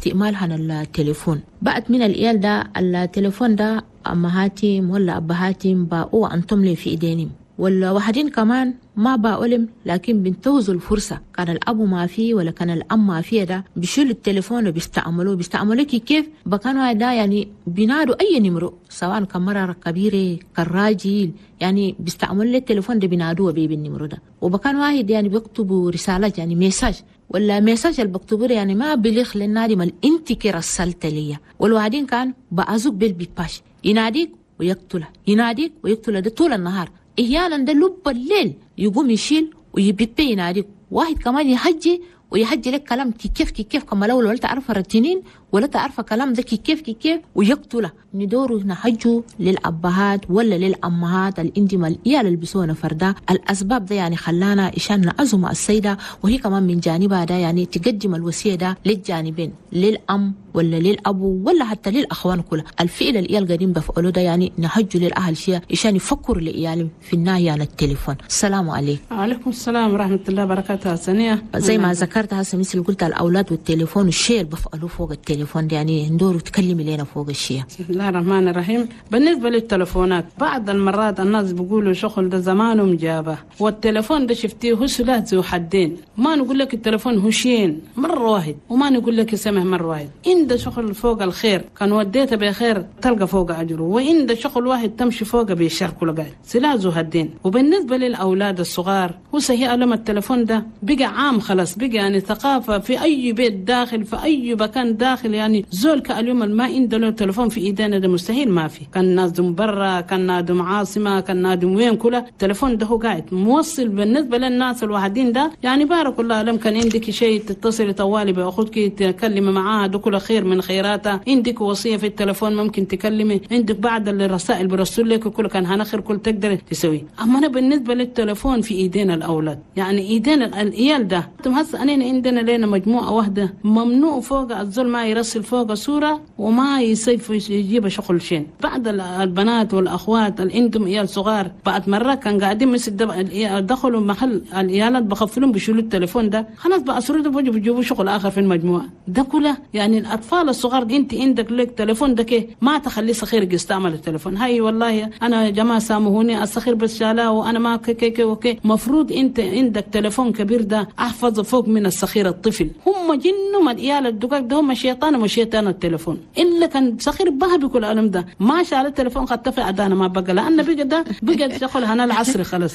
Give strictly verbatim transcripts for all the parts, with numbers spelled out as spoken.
استعمال هنا التليفون. بعد من العيال ده التليفون ده أمهاتهم ولا أبهاتهم باقوا أنتم لي في إيدينهم، ولا واحدين كمان ما باقولهم، لكن بنتوزوا الفرصة. كان الأبو ما فيه ولا كان الأم ما فيه، ده بيشيلوا التليفون وبيستعملوه. بيستعملوه كيف؟ بكانوا ده يعني بينادوا أي نمرو، سواء كمرة كبيرة كراجل، يعني بيستعملوا التليفون ده بينادوه بيه بالنمرو ده. وبكان واحد يعني بيكتبوا رسالات، يعني message ولا message اللي بكتبه يعني ما بلغ للنادي ما انت كي رسلت ليا. والوعدين كان بأزوك بالبيباش، يناديك ويقتله، يناديك ويقتله ده طول النهار. احيانا ده لب الليل يقوم يشيل ويبيبي يناديك. واحد كمان يحجي ويحجي لك كلام كيف كيف كما لو ولا تعرف رتنين ولا تعرف كلام ده كيف كيف ويقتله. ندوروا نحجوا للأبهات ولا للأمهات الإندمة الإيال اللي بيسونا فردا. الأسباب ده يعني خلانا إشان نعزم السيدة، وهي كمان من جانبها ده يعني تقدم الوصية ده للجانبين، للأم ولا للأبو ولا حتى للأخوان كلها. الفعل الإيال قديم بفعله ده يعني نحجوا للأهل شيء إشان يفكروا لإيالهم في النهي عن التليفون. السلام عليكم. وعليكم السلام ورحمة الله وبركاته. سنية زي ما ذكرت هسه مثل قلت الأولاد والتليفون والشيء اللي بفعلوه فوق التليفون ده، يعني ندور تكلمي لنا فوق الشيء. بسم الله الرحمن الرحيم. بالنسبة للتلفونات، بعض المرات الناس بيقولوا شغل ده زمانه مجابة، والتلفون ده شفتيه هو سلاح ذو حدين. ما نقول لك التلفون هو شين مرة واحد، وما نقول لك سمح مرة واحد. إن ده شغل فوق الخير كان وديته بخير تلقى فوق أجره، وإن ده شغل واحد تمشي فوق بيشر كل قاعد. سلاح ذو حدين. وبالنسبة للأولاد الصغار هو صحيح لما التلفون ده بقى عام خلاص، بقى يعني ثقافة في أي بيت داخل في أي مكان داخل. يعني زول كاليوم ما عنده له تلفون في ايدينا ده مستحيل ما في. كان نادم برا، كان نادم عاصمة، كان نادم وين، كله التلفون ده هو قاعد موصل. بالنسبة للناس الواحدين ده يعني بارك الله لم كان عندك شيء تتصل طوالي باخوك تكلم معاها، ده كله خير من خيراتها. عندك وصية في التلفون ممكن تكلمي، عندك بعض الرسائل برسل لك كله كان هنخر كل تقدر تسوي. اما انا بالنسبة للتلفون في ايدينا الاولاد، يعني ايدينا العيال ده هسه انا عندنا لنا مجموعة واحدة ممنوع فوق الزول ما يرسل فوق صورة وما يسيف يجيب شغل شين. بعض البنات والأخوات اللي عندهم عيال صغار بعد مرة كان قاعدين مثل دخلوا محل العيالات بخفلهم بيشيلوا التليفون ده خلاص بقى صورته بيجوا بيجيبوا شغل آخر في المجموعة ده كله. يعني الأطفال الصغار أنت عندك لك تليفون ده كي ما تخليه صغير يستعمل التليفون. هاي والله أنا يا جماعة سامحوني الصغير بس شالاه وأنا ما كي كي okay. مفروض أنت عندك تليفون كبير ده أحفظ فوق من الصغير الطفل. هم جنوا ما العيال الدقاق ده هم شيطان وشيطان التليفون. إلا كان صغير بها بكل ألم ده ما شال التليفون قد تفع أدانا ما بقى، لأن بقى ده بقى شغل هنا العصر خلاص.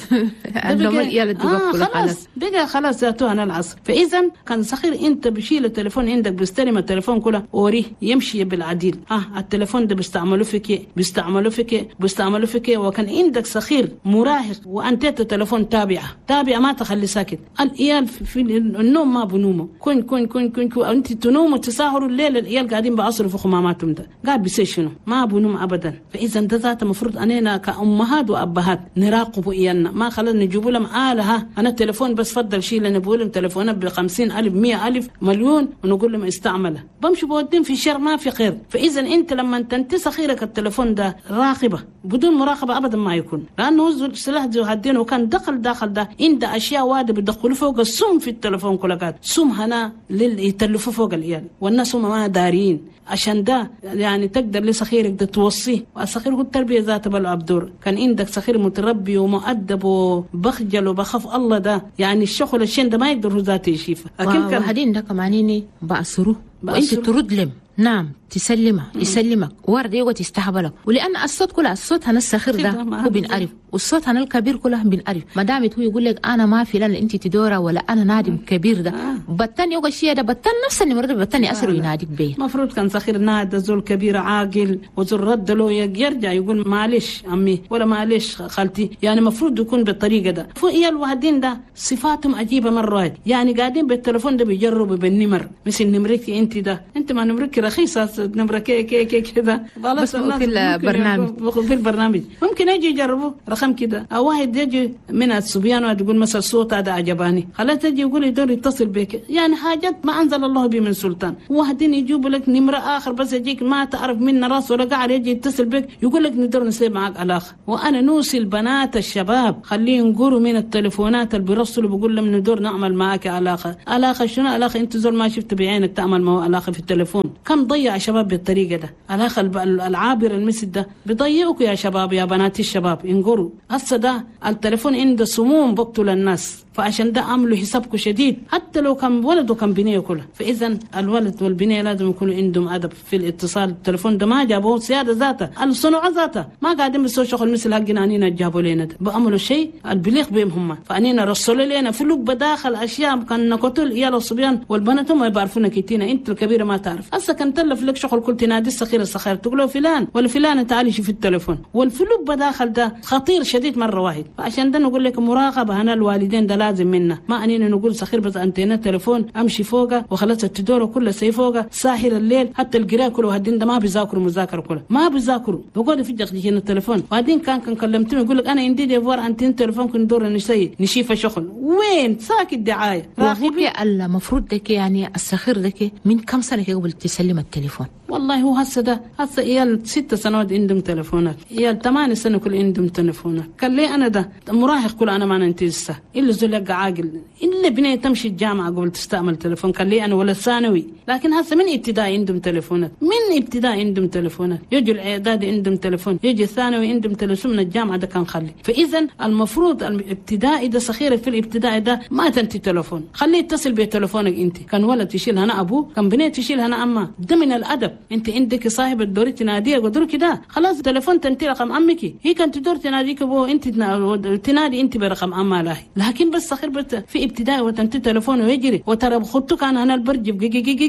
آه خلاص بقى خلاص ذاته هنا العصر. فإذا كان صغير أنت بشيل التليفون عندك بيستلم التليفون كله وريه يمشي بالعديل. آه التليفون ده بيستعملوه فيك بيستعملوه فيك بيستعملوه فيك. وكان عندك صغير مراهق وأنت التليفون تابعة تابعة ما تخلي ساكت. العيال في النوم ما بنومه كن كن كن كن, كن. أنت تنوم وتساهروا الليل العيال قاعدين بعصروا في خماماتهم ده قاعد بيصير شنو ما بنوم أبدا. فإذا ده ذات المفروض أننا كأمهات وأبهات نراقب عيالنا، ما خلينا نجيب لهم آلة أنا التليفون بس فضل شيء لنا نقول لهم تليفونات بخمسين ألف مية ألف مليون ونقول لهم استعمله بمشي بودين في شر ما في خير. فإذا أنت لما تنتسى خيرك التليفون ده راقبة بدون مراقبة أبدا ما يكون، لأنه السلاح ذو حدين. وكان دخل داخل ده عند أشياء واد بيدخلوا فوق السم في التليفون كله قاعد سم هنا يتلفوا فوق العيال والناس هم ما دارين. عشان ده يعني تقدر لصغيرك ده توصية. والصغير هو التربية ذات بلعب دور. كان عندك صغير متربي ومؤدب وبخجل وبخاف الله ده يعني الشغل الشين ده ما يقدر هو ذاته يشيفه. لكن كان هدين ده كمان بأسره وانت ترد لهم نعم تسلمه يسلمك ورد يقعد يستهبلك. ولان الصوت كله الصوت هنا الصغير ده هو بنعرف، والصوت هنا الكبير كله بنعرف. ما دامت هو يقول لك انا ما في لان انت تدورة ولا انا نادم كبير ده بتن يوقع الشيء ده بتن نفس النمرة ده بتن اسر يناديك بيه. المفروض كان صغير نادى زول كبير عاقل وزول رد له يرجع يقول معلش عمي ولا معلش خالتي، يعني المفروض يكون بالطريقة ده. فوق الوحدين ده صفاتهم عجيبة مرات، يعني قاعدين بالتليفون ده بيجربوا بالنمر مثل نمرتي انت ده انت ما نمرك رخيصة نمره كي كي كي كده بس في البرنامج في البرنامج ممكن يجي يجربوا رقم كده، او واحد يجي من الصبيان ويقول مثلا الصوت هذا عجباني، خلاص تجي يقول يدور يتصل بك، يعني حاجات ما انزل الله به من سلطان. واحدين يجيبوا لك نمره اخر بس يجيك ما تعرف من راس ولا قاعد يجي يتصل بك يقول لك ندور نسيب معك علاقة. وانا نوصي البنات الشباب خليهم يقولوا من التليفونات اللي بيرسلوا بيقول لهم ندور نعمل معك علاقة. علاقة شنو علاقة؟ انت زول ما شفت بعينك تعمل ما هو علاقة في التليفون. كم ضيع شباب بالطريقة ده، علاقة العابر المسد ده بيضيعوك يا شباب يا بنات الشباب. انقروا هسه ده التليفون عنده سموم بقتل الناس، فعشان ده عملوا حسابكم شديد حتى لو كان ولد وكان بنيه كله. فاذا الولد والبنية لازم يكونوا عندهم ادب في الاتصال. التليفون ده ما جابوه سيادة ذاته الصنوع ذاته ما قاعدين بيسووا شغل مثل حقنا انينا جابوا لنا ده، بأملوا شيء البليغ بهم هم. فانينا رسلوا لنا في لب داخل اشياء كان نقتل يا الصبيان والبنات هم يعرفونا كتينا، انت الكبيرة ما تعرف. هسه كان تلف لك شغل كل تنادي الصغير الصغير تقول له فلان ولا فلانه تعالي شوف التليفون، والفلوب بداخل ده خطير شديد مرة واحد. فعشان ده نقول لك مراقبة هنا الوالدين ده لازم منا، ما انينا نقول صغير بس انتينا تليفون امشي فوقه وخلاص التدور كله سي فوقه ساحر الليل حتى القراءة كله هدين ده ما بيذاكروا مذاكرة كله ما بيذاكروا بقول في جخ التليفون. وبعدين كان كان كلمتهم يقول لك انا عندي devoir antenne تليفون كن دور نشي نشيف شغل وين ساكت دعاية. راغبي المفروض دك يعني الصغير دك من كم سنة قبل تسلم التليفون؟ والله هو هسه ده هسه عيال ست سنوات عندهم تليفونات، عيال ثمان سنة كل عندهم تليفونات. قال لي انا ده مراهق كل انا ما ننتزه الا زول عاقل الا بنيه تمشي الجامعة قبل تستعمل تليفون. قال لي انا ولا ثانوي، لكن هسه من ابتدائي عندهم تليفونات، من ابتدائي عندهم تليفونات، يجي الاعدادي عندهم تليفون، يجي الثانوي عندهم تليفون، من الجامعة ده كان خلي. فاذا المفروض الابتدائي ده صغير في الابتدائي ده ما تنتي تليفون، خليه يتصل بتليفونك انت. كان ولد يشيل هنا ابوه، كان بنيه تشيل هنا امها، ده من الادب. انت عندك صاحب الدور تناديه قدر كده خلاص تليفون تنتي رقم امك، هي كانت تدور تناديك ابوه انت تنادي انت برقم امها لا. لكن بس صغير بس في ابتدائي وتنتي تليفون ويجري وترى بخطك انا انا البرج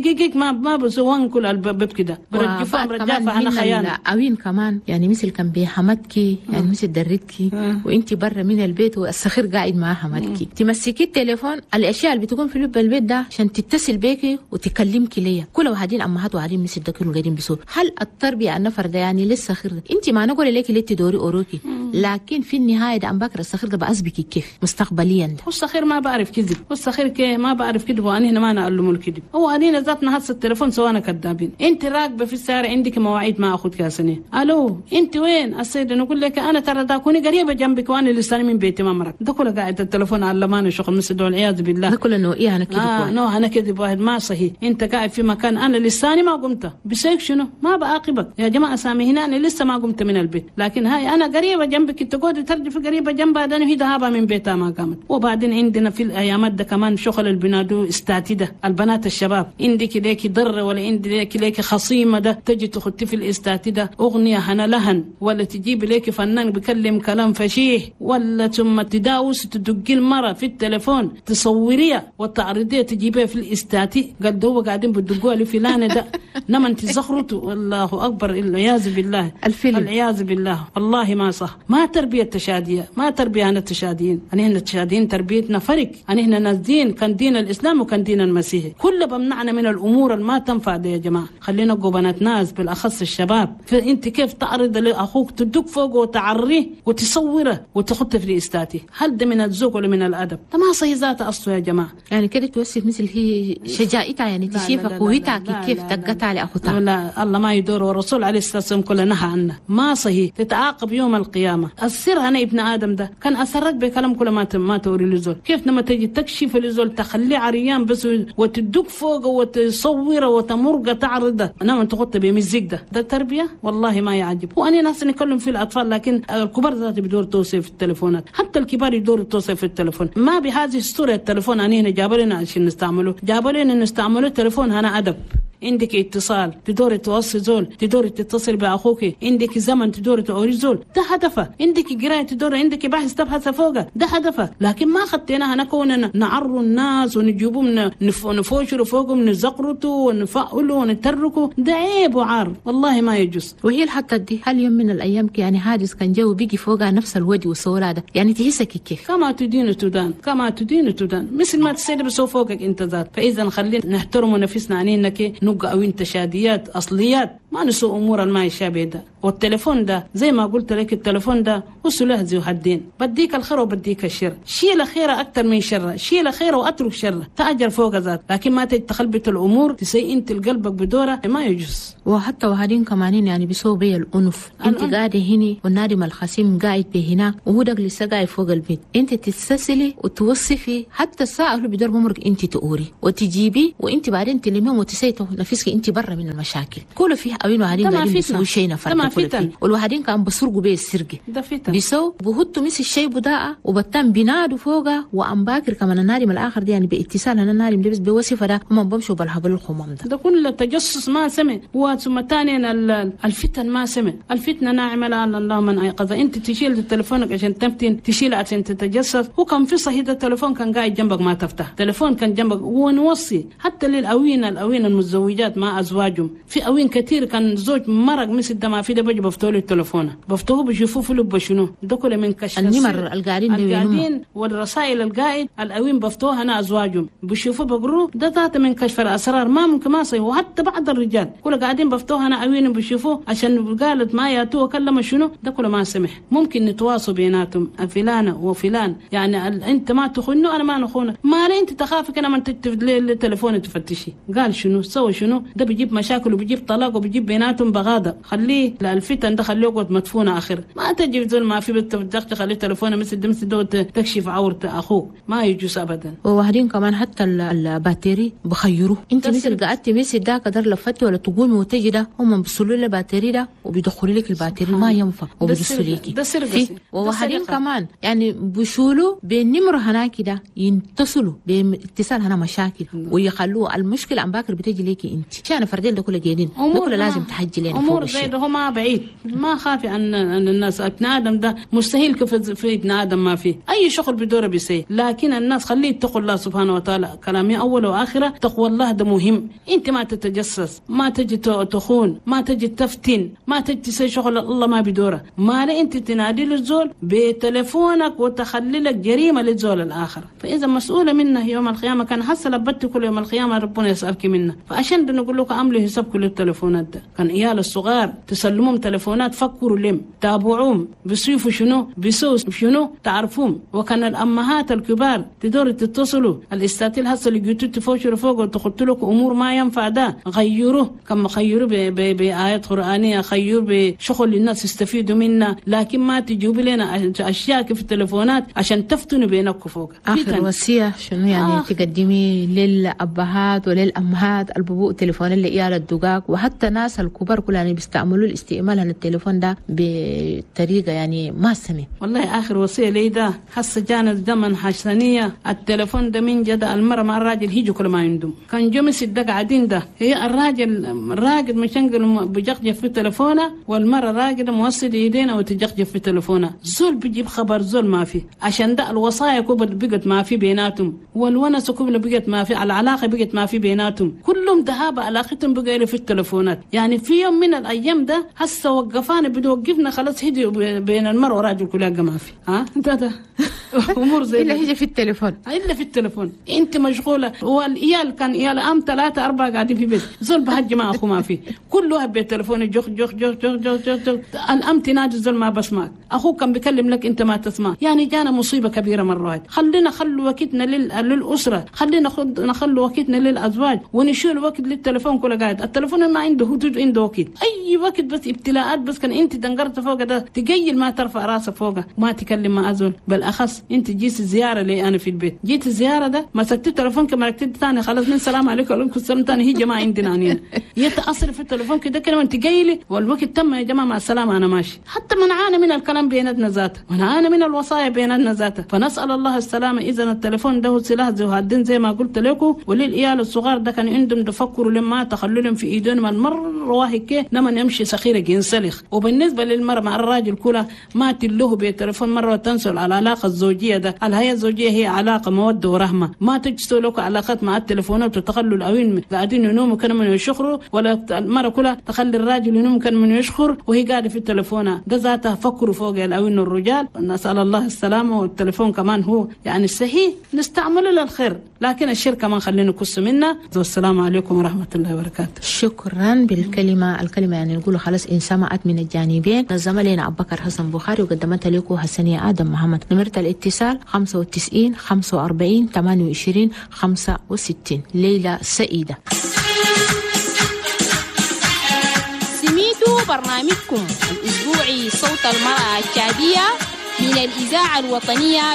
جيك ما ما بسوان كل الباب كده برجفهم رجافه انا خيانة. اوين كمان يعني مثل كان بحمدكي يعني مثل درتكي وانت برا من البيت والصغير قاعد مع حمدكي تمسكي التليفون الاشياء اللي بتكون في لب البيت ده عشان تتصل بيكي وتكلمكي ليا. كل واحدين امهات وعدين مثل ده كانوا قاعدين بيسوا. هل التربية النفر ده يعني لسه خير ده انت ما نقول لك ليه تدوري اوروكي، لكن في النهاية ده ام بكر الصغير ده بأسبكي كيف مستقبليا ده. والصغير ما بعرف كذب، والصغير كي ما بعرف كذب، وانا هنا ما نعلمه الكذب. هو انا ذاتنا هسه التليفون سوانا كذابين. انت راكبه في السيارة عندك مواعيد ما اخذ كاسني، الو انت وين السيد؟ نقول لك انا ترى دا كوني قريبه جنبك وانا لسه من بيتي ما مرك. ده كله قاعد التليفون علماني شغل مسد والعياذ بالله. ده كله انه ايه انا كذب آه نو انا كذب واحد ما صحيح. انت قاعد في مكان انا لساني ما قمت بسيك شنو ما بعاقبك يا جماعة سامي هنا انا لسه ما قمت من البيت، لكن هاي انا قريبه جنبك تقعد ترجف قريبه جنبها ده هي ذهابها من بيتها ما قامت. وبعدين عندنا في الايامات ده كمان شغل البنادو استاتي ده البنات الشباب عندك ليك ضر ولا عندك ليك خصيمه ده تجي تخطي في الاستاتي ده اغنية هنا لهن، ولا تجيب ليك فنان بيكلم كلام فشيح، ولا ثم تداوس تدقي المرة في التليفون تصوريها وتعرضيها تجيبها في الاستاتي. قال هو قاعدين بتدقوها لفلانه ده نما انت زخرته. والله اكبر العياذ بالله الفيلم العياذ بالله والله ما صح. ما تربيه تشاديه، ما تربيه انا التشاديين، انا هنا التشاديين تربيتنا فرق، انا هنا ناس دين كان دين الاسلام وكان دين المسيحي، كله بمنعنا من الامور اللي ما تنفع دي يا جماعة. خلينا نبقوا بنات ناس بالاخص الشباب. فانت كيف تعرض لاخوك تدق فوقه وتعريه وتصوره وتحطه في الاستاتي؟ هل ده من الذوق ولا من الادب؟ ده ما صحيح ذاته اصله يا جماعة. يعني كده توصف مثل هي شجاعتها يعني تشيفك قوتها كيف تقطع لاخوتها. لا الله ما يدور، والرسول عليه الصلاة والسلام كله نهى عنه ما صحيح، تتعاقب يوم القيامة. السر انا ابن ادم ده كان اسرك بكلام كل ما ما توري لزول. كيف لما تجي تكشف لزول تخليه عريان بس وتدق فوقه وتصوره وتمرقه تعرضه انا انت تغطي بمزيك ده ده تربيه والله ما يعجب. وانا ناس نتكلم في الاطفال لكن الكبار ذات بدور توصيف في التليفونات، حتى الكبار يدوروا توصيف في التليفون. ما بهذه الصورة التليفون انا هنا جاب لنا عشان نستعمله، جاب لنا نستعمله التليفون هنا ادب. عندك اتصال تدور توصي زول، تدور تتصل باخوك، عندك زمن تدور توري زول، ده هدفه. عندك قرايه تدور، عندك بحث تبحث فوقه، ده هدفه. لكن ما خدتنا نكون نعروا الناس ونجيبهم نفوشروا فوقهم نزقرتوا ونفعلوا ونتركوا، ده عيب وعار والله ما يجوز. وهي الحتة دي هل يوم من الايام يعني حادث كان جو بيجي فوقها نفس الوجه والصورة ده يعني تحسك كيف؟ كما تدين تدان، كما تدين تدان، مثل ما تسيد بسو فوقك انت ذات. فاذا خلينا نحترم نفسنا عنينا كي نبقى أوين تشاديات أصليات، ما نسوء أمور ما يشابه ده. والتليفون ده زي ما قلت لك، التليفون ده وسلاح ذو حدين، بديك الخير وبديك الشر، شيل خيره أكتر من شره، شيل خيره وأترك شره، تأجر فوق ذات، لكن ما تتخلبت الأمور تسيء أنت القلبك بدوره ما يجوز. وحتى وهادين كمانين يعني بيسووا بي الأنف، أنت قاعدة هنا والنادم الخصيم قاعد بهنا وهو دق لسه قاعد فوق البيت، أنت تتسلسلي وتوصفي حتى الساعة اللي بدور بمرك أنت تقوري وتجيبي، وأنت بعدين تلميهم وتسيتوا نفسك أنت برا من المشاكل. كله فيه أوين وهادين قاعدين بيسووا شيء نفر كله، والوهادين كان بسرقوا بيه السرقة بيسووا بهتوا مس الشيء بداء وبتم بينادوا فوقه وأم باكر كمان النادم الآخر دي يعني باتصال أنا النادم لبس بوصفة ده هم بمشوا بالهبل الخمام ده ده كله تجسس ما سمع. وثم ثانيا الفتن ما سمع، الفتنة ناعمة لعل الله من أيقظها. أنت تشيل تليفونك عشان تفتن، تشيل عشان تتجسس، وكان في صحيح التليفون كان قاعد جنبك ما تفتح، تليفون كان جنبك. ونوصي حتى للأوين الأوين المتزوجات مع أزواجهم، في أوين كثير كان زوج مرق مثل ده ما في ده بيجي بفتحوا له التليفون، بفتحوه بيشوفوه في لبه شنو ده كله من كشف النمر القاعدين القاعدين والرسائل القاعد الأوين بفتحوها أنا أزواجهم بيشوفوه بقروه ده ذات من كشف الأسرار ما ممكن ما صحيح. وحتى بعض الرجال كله قاعدين بفتحوها أنا أوين بيشوفوه عشان قالت ما ياتوه وكلمه شنو ده كله ما سمح. ممكن نتواصل بيناتهم فلانة وفلان، يعني أنت ما تخونه أنا ما نخونه، ما لي أنت تخافك أنا ما التليفون تفتشي قال شنو سوى شنو، ده بيجيب مشاكل وبيجيب طلاق وبيجيب بيناتهم بغاضة. خليه الفتن ده خليه يقعد مدفونة آخر، ما تجي زول ما في بتدخل خليه تليفونه مثل ده مثل ده تكشف عورة أخوك، ما يجوز أبدا. وواحدين كمان حتى ال batterie بخيروه، أنت مثل قعدتي مثل ده قدر لفتي ولا تقومي وتجي ده هم بيصلوا لي batterie ده وبيدخلوا لك ال batterie ما ينفع وبيدسوا لك. وواحدين كمان يعني بيشولوا بالنمر هناك ده ينتصلوا باتصال هنا مشاكل ويخلوه المشكلة عم باكر بتجي ليكي أنت عشان فردين ده كله جايين ده كله لازم تحجي لنا أمور زي ده ما بعيد ما خافي أن أن الناس ابن آدم ده مستحيل كيف في ابن آدم ما فيه أي شغل بدوره بيسي، لكن الناس خليه يتقوا الله سبحانه وتعالى. كلامي أول وآخرة تقوى الله ده مهم. أنت ما تتجسس، ما تجي تخون، ما تجي تفتن، ما تجي تسوي شغل الله ما بدوره، ما لا أنت تنادي للزول بتليفونك وتخلي لك جريمة للزول الآخر، فإذا مسؤولة منه يوم القيامة. كان حصل بتك كل يوم القيامة ربنا يسألك منه. فعشان نقول لك عملوا حساب كل التليفونات ده، كان عيال الصغار تسلمهم تليفونات فكروا لهم تابعوهم بيصيفوا شنو بيسووا شنو تعرفوهم. وكان الأمهات الكبار تدور تتصلوا الاستاتيل هسه اللي جيتوا تفوشوا فوق وتخطوا لكم أمور ما ينفع ده غيروه، كما خيروه بآيات قرآنية، خيروه بشغل الناس يستفيدوا منه، لكن ما تجيبوا لنا أشياء في التليفونات عشان تفتنوا بينكم فوق. آخر وصية شنو يعني آه. تقدمي للأبهات وللأمهات الببوء تليفون اللي إيال الدقاق وحتى ناس الكبار كلها يعني بيستعملوا الاستعمال عن التليفون ده بطريقة يعني ما سمي. والله آخر وصية لي ده حس جانا الزمن حسنية التليفون ده من جد المرة مع الراجل هيجوا كل ما عندهم كان جمس الدق قاعدين ده هي الراجل راقد مشنقل بجقجف في تليفونه والمرة راقدة موصل ايدينا وتجقجف في تليفونه، زول بيجيب خبر زول ما في. عشان ده الوصايا كبر بقت ما في بيناتهم، والونس كبر بقت ما في، العلاقة بقت ما في بيناتهم، كلهم ذهاب علاقتهم بقى في التليفونات. يعني في يوم من الأيام ده هسه وقفانا بتوقفنا خلاص هدي بين المرء والراجل كلها ما في ها ده ده امور زي الا هي في التليفون الا في التليفون انت مشغولة. والعيال كان عيال ام ثلاثة اربعة قاعدين في بيت زول بهج مع اخو ما في، كل واحد بالتليفون جخ جخ جخ جخ جخ جخ, جخ. الام تنادي زول ما بسمعك، اخوك كان بيكلم لك انت ما تسمع. يعني جانا مصيبة كبيرة مرة واحدة. خلينا خلوا وقتنا لل... للاسرة، خلينا نخلوا وقتنا للازواج ونشيل وقت للتليفون كله قاعد. التليفون ما عنده حدود، عنده وقت اي وقت بس ابتلاءات بس. كان انت دنقرت فوق ده تقيل ما ترفع راسك فوقه ما تكلم مع ازول. بالاخص انت جيت زيارة لي انا في البيت، جيت الزيارة ده مسكت التليفون كما ركبت ثاني خلاص من سلام عليكم وعليكم السلام ثاني هي جماعة عندنا هنا يتاثر في التليفون كده كلمة انت جاي والوقت تم يا جماعة مع السلامة انا ماشي. حتى منعانا من الكلام بيناتنا ذاته، منعانا من الوصايا بيناتنا ذاته، فنسال الله السلامة. اذا التليفون ده سلاح ذو حدين زي ما قلت لكم. وللعيال الصغار ده كان عندهم تفكروا لما تخلوا في ايدهم المرة واحد كي لما يمشي سخيره ينسلخ. وبالنسبة للمرأة مع الراجل كلها ما تلوه بالتليفون مرة وتنسوا العلاقة الزوجية ده. الحياة الزوجية هي علاقة موده ورحمة، ما تجسوا لكم علاقات مع التليفونات وتخلوا الاوين قاعدين ينوموا كانوا من يشخروا، ولا المرأة كلها تخلي الراجل ينوم كان من يشخر وهي قاعدة في التليفون ده ذاتها. فكروا فوق الاوين الرجال، نسال الله السلامة. والتليفون كمان هو يعني الصحيح نستعمله للخير، لكن الشركة ما نخلينا نكس منها. والسلام عليكم ورحمة الله وبركاته. شكرا بالكلمة، الكلمة يعني نقول خلاص إن سمعت من الجانبين. نظم لنا أبو بكر حسن بخاري وقدمتها لكم حسنية آدم محمد. نمرة الاتصال خمسة وتسعين خمسة وأربعين ثمانية وعشرين خمسة وستين. ليلة سعيدة. سميتوا برنامجكم الأسبوعي صوت المرأة التشادية من الإذاعة الوطنية.